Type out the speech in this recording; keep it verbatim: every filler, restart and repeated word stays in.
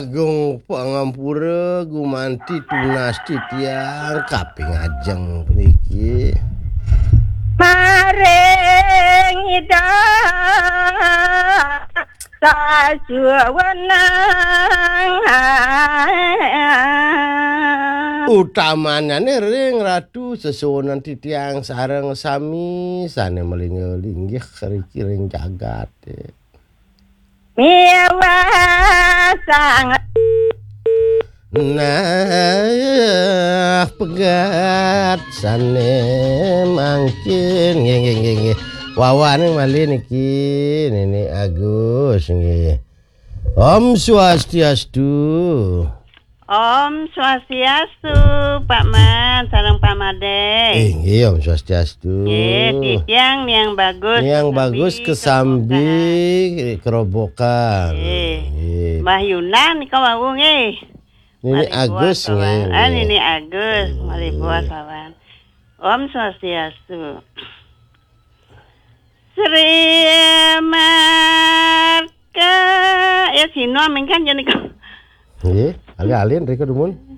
Agung pangampura gumanti tunas titiang kaping ajeng puniki. Maring Ida sajuwenang. Utamanane ring Ratu sesuunan titiang sareng sami sane malinggih-linggih riki ring jagate. Miwah sang Nah, pegat sane mangkin. Nggih, nggih, nggih, nggih. Wawaning malih niki Nini Agus nggih. Om Swastiastu. Om Swastiastu, Pak Man, sareng Pak Made. Inggih, Om Swastiastu. Nggih, titiang Niang Bagus. Niang Bagus kesambi kerobokan. Nggih. Nggih. Mbah Yunan nika wau nggih. Nini Agus nggih. Ah, Nini Agus, malih puas lawan. Om Swastiastu. Sri Marka, ya Sino mengkan ya nika. Nggih, alih-alih rika dumun.